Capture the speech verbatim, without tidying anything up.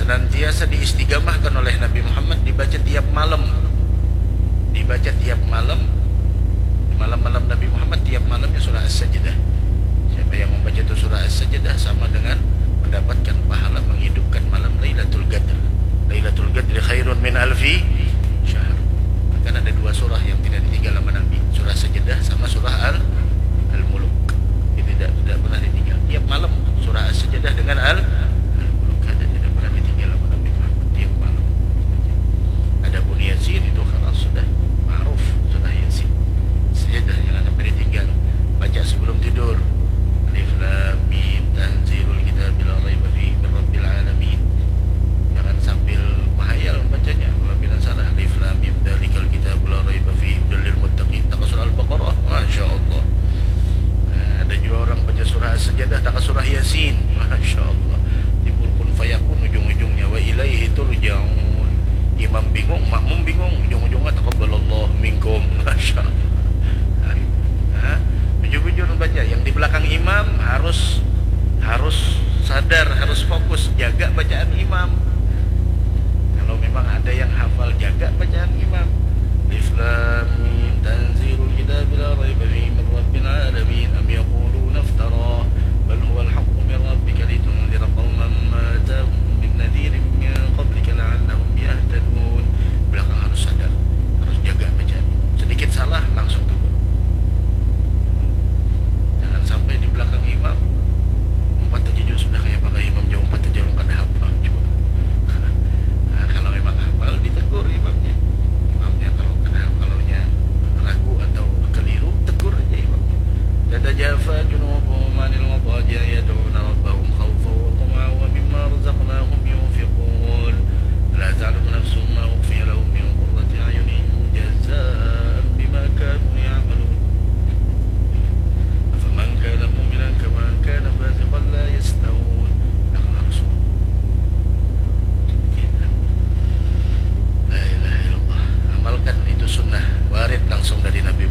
Senantiasa diistigamahkan oleh Nabi Muhammad, dibaca tiap malam. Dibaca tiap malam. Malam-malam Nabi Muhammad, tiap malamnya surah As-Sajdah. Siapa yang membaca itu surah As-Sajdah sama dengan mendapatkan pahala menghidupkan malam Lailatul Qadar. Lailatul Qadri khairun min alfi syahr. Bahkan ada dua surah yang tidak ditinggal sama Nabi, surah Sajdah sama surah Al Al-Muluk. Jadi tidak tidak pernah ditinggal. Tiap malam surah As-Sajdah dengan Al Al-Muluk ada, tidak pernah ditinggal sama Nabi Muhammad tiap malam. Adapun Yasin itu karena sudah ma'ruf, sudah Yasin. Sajdah jangan sampai ditinggal. Baca sebelum tidur. Alif Lam Mim, tanzilul kitabi la raiba fihi min rabbil alamin. Jangan sambil menghayal membacanya. Apabila salah, Alif Lam Mim, dzalikal kitabu la raiba fihi, hudal lil muttaqin. Takas surah Al-Baqarah, Masya Allah. Nah, ada juga orang baca surah As-Sajdah, takas surah Yasin, Masya Allah. Timbul kun fayakun ujung-ujungnya, wa ilaihi turja'un. Imam bingung, makmum bingung, ujung-ujungnya taqabbalallahu minkum, Masya Allah. Nah, bujur-bujur baca, yang di belakang imam harus harus sadar, harus fokus, jaga bacaan imam. Kalau memang ada yang hafal, jaga bacaan imam. Alif Lam Mim, tanzilul kitabi la raiba fihi min rabbil alamin, am yaquluna iftara, bal huwal haqqu min rabbika litunzira qauman ma atahum min nadhirin min qablika la'allahum yahtadun. Belakang harus sadar, harus jaga bacaan. Sedikit salah, langsung tegur. Jangan sampai di belakang imam umpat aja jua sudah, kayak pakai imam jauh umpat aja, ulun kada hafal jua. Nah, kalau memang hafal, ditegur imamnya. Imamnya kalau kada, kalau nya ragu atau keliru, tegur aja imamnya. Tatajafa junubuhum anil madaji'i yad'una rabbahum khawfan wa tama'an wa mimma razaqnahum yunfiqun. La ta'lamu nafsun ma ukhfiya lahum min qurrati a'yunin jazaan bima kanu ya'malun. Afaman kana mu'minan kaman kana fasiqan la yastawun. Nah, langsung. La ilaha illallah. Amalkan itu sunnah, warid langsung dari Nabi